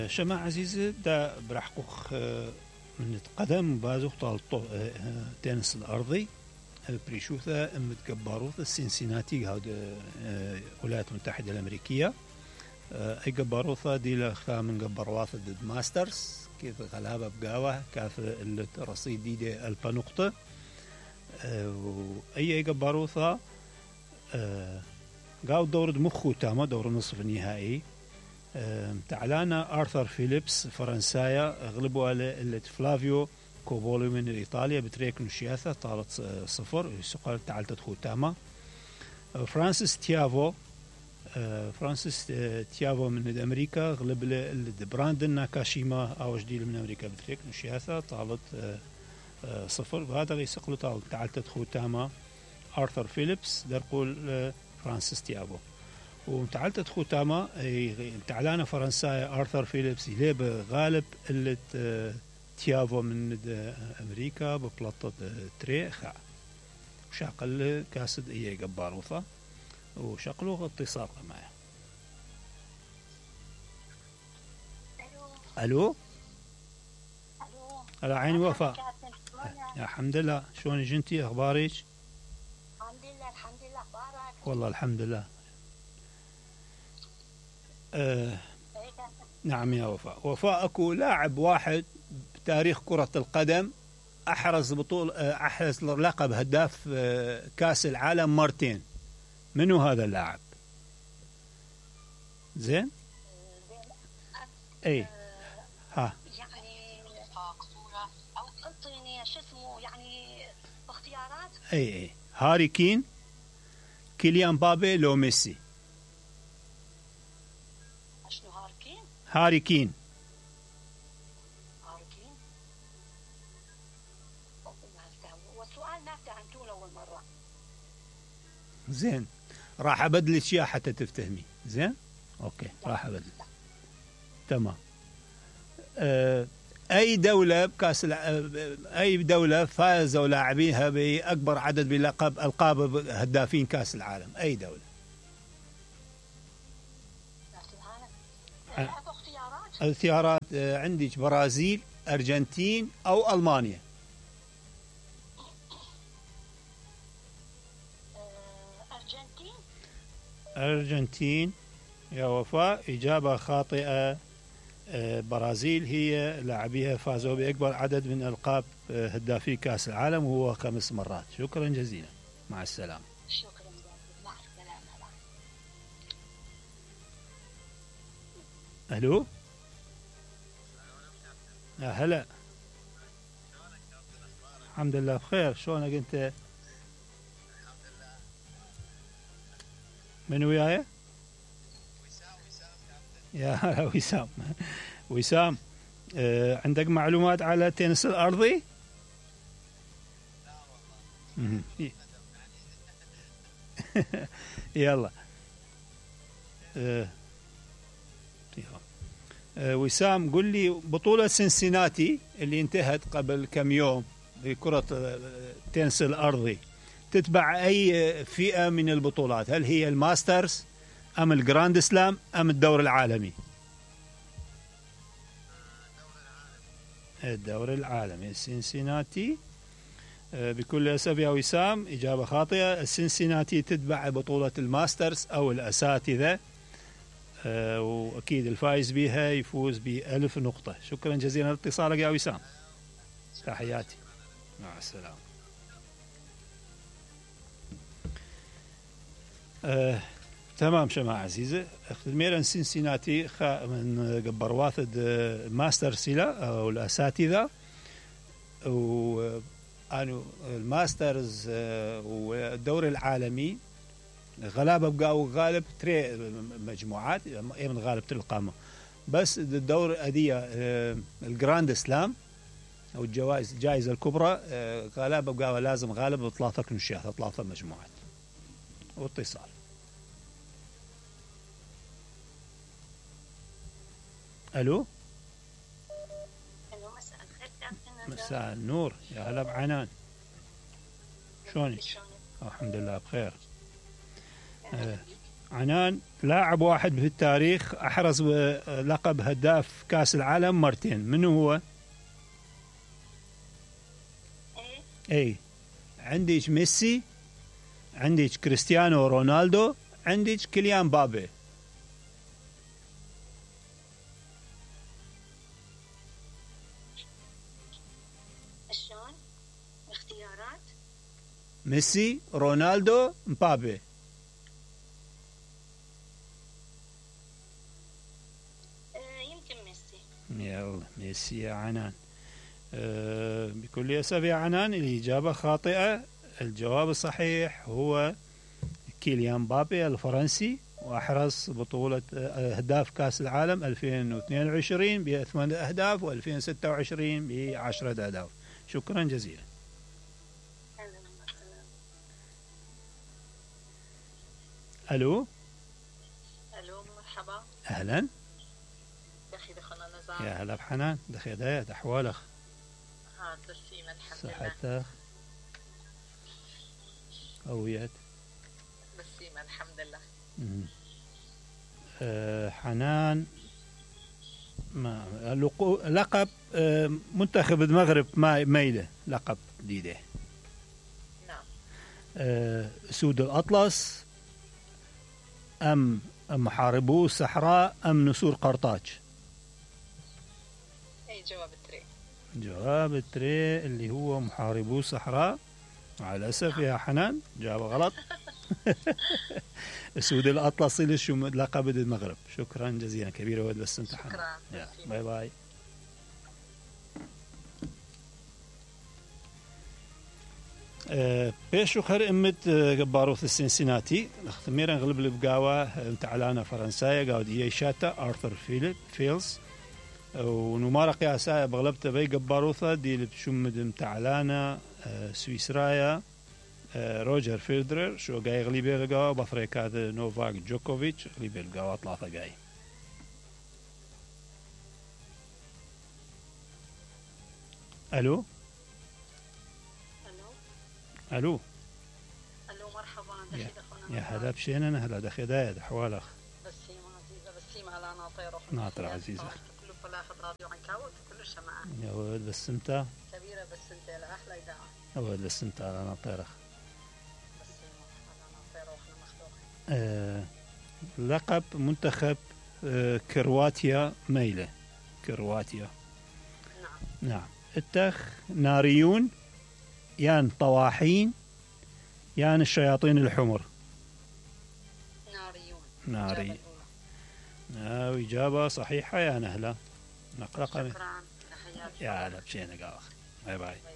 شما عزيزي دا برحقوق من قدم بازوق طالطو تنس الأرضي بريشوثا متقبروث السنسيناتي هاد الولايات المتحدة الأمريكية أي قبروثا دي لخا من قبرواث ضد ماسترز كيف غلابة بقاوة كاف الرصيد دي 1000 نقطة أي قبروثا قاو دور مخو تاما دور نصف النهائي تعلانا آرثر فيليبس فرنسايا غلبوا على فلافيو كوبولي من إيطاليا بتريك نشياثة طالت 0 سقال تعالت خوتاما فرانسيس تيافو من أمريكا غلب براندن ناكاشيما أو جديد من أمريكا بتريك نشياثة طالت 0 وهذا يسقلوا تعالت خوتاما آرثر فيليبس درقول فرانسيس تيافو وتعالت خوتاما تعلانا فرنسايا آرثر فيليبس يليب غالب اللي تيافو من أمريكا ببلطة تريخا وشاقل كاسد إيه قباروثا وشقلوه اتصال معه. ألو على عيني وفاء. يا الحمد لله شلون جنتي أخبارك؟ الحمد لله أخبارك؟ والله الحمد لله. نعم يا وفاء أكو لاعب واحد بتاريخ كرة القدم أحرز لقب هداف كأس العالم مرتين. منو هذا اللاعب؟ زين؟ اي ها يعني صورة او انطيني شو اسمه يعني اختيارات. اي هاري كين، كيليان بابي، لو ميسي. شنو هاركين؟ هاري كين. والسؤال ما فهمتوه اول مرة. زين راح ابدلك اياه حتى تفتهمي. زين اوكي راح ابدل. تمام. اي دولة بكاس اي دولة فازوا لاعبيها باكبر عدد بلقب القاب هدافين كاس العالم؟ اي دولة؟ الاختيارات عندك برازيل، ارجنتين او المانيا. أرجنتين يا وفاء، إجابة خاطئة. برازيل هي لاعبيها فازوا بأكبر عدد من ألقاب هدافي كأس العالم وهو 5 مرات. شكرا جزيلا، مع السلامة. شكرا جزيلا، مع السلامة. ألو يا هلا. الحمد لله بخير. شلونك أنت؟ من وياي؟ يا وسام عندك معلومات على التنس الأرضي؟ يلا وسام قل لي بطولة سنسيناتي اللي انتهت قبل كم يوم بكرة التنس الأرضي تتبع أي فئة من البطولات؟ هل هي الماسترز أم الجراند سلام أم الدور العالمي؟ الدور العالمي. السنسيناتي بكل أسف يا وسام إجابة خاطئة. السنسيناتي تتبع بطولة الماسترز أو الأساتذة، وأكيد الفائز بها يفوز ب1000 نقطة. شكرا جزيلا لاتصالك يا وسام، تحياتي، مع السلامة. تمام شما عزيزة. اخت الميران سنسيناتي من قبر واثد ماستر سيلا او الاساتذة وانو الماسترز والدور العالمي غلابة بقاو غالب تري مجموعات من غالب القامة، بس الدور أدية الجراند سلام او الجائزة الكبرى غلابة بقاو لازم غالب 3 كنشات 3 مجموعات. واتصال. الو مساء الخير. مساء النور، يا هلا بعنان. شلونك؟ الحمد لله بخير. عنان لاعب واحد في التاريخ أحرز لقب هداف كأس العالم مرتين، منو هو؟ اي عندك ميسي، عندك كريستيانو رونالدو، عندك كيليان بابي. شلون؟ اختيارات؟ ميسي، رونالدو، مبابي. يمكن ميسي. يلا ميسي يا عنان. بكل أسف يا عنان الإجابة خاطئة. الجواب الصحيح هو كيليان بابي الفرنسي، وأحرز بطولة أهداف كأس العالم 2022 ب8 أهداف، و2026 ب10 أهداف. شكرا جزيلا. ألو. ألو مرحبا. أهلا. دخي دخلنا نزار. يا هلا بحنان، دخي دايت أحوالك؟ ها تسليما الحمد لله. صحتك؟ قويت؟ تسليما الحمد لله. حنان ما لقب منتخب المغرب ميلة لقب جديدة. نعم. أسود الأطلس أم محاربو الصحراء أم نسور قرطاج؟ أي جواب التري. جواب التري اللي هو محاربو الصحراء. مع الأسف يا حنان جواب غلط. أسود الأطلس لقب المغرب. شكرا جزيلا كبير ود بس انت حنان. شكرا. باي باي. بيشو خير امت باروث السنسيناتي اختميرا غلب البقاوة متعلانا فرنسايا قاود ايي شاتا ارثر فيلز ونمارق يا سايا بغلبت بي قباروثا دي لبشمد متعلانا سويسرايا روجر فيدرر شو قاي غليبي القاوة بفريق هذا نوفاك جوكوفيتش غليبي القاوة ثلاثة قاي. الو. الو. الو مرحبا. يا هلا بشين انا هلا دخي دايد احوالك؟ بسيمة عزيزة بسيمة هلا ناطير ناطر عزيزة كله فلاحظ راديو عنكاوي كله شمعة يا ولد بس انت كبيرة بس انت لأحلى إذاعة يا ولد بس انت على ناطرة بسيمة هلا ناطير واحنا مخلوقين. لقب منتخب كرواتيا ميلة. كرواتيا. نعم. اتخ ناريون يان طواحين يان الشياطين الحمر؟ ناريون. ناوي إجابة صحيحة يا نهلة. نقرأ. شكرا. يا هلا بشينا قاوخ. باي باي. باي باي.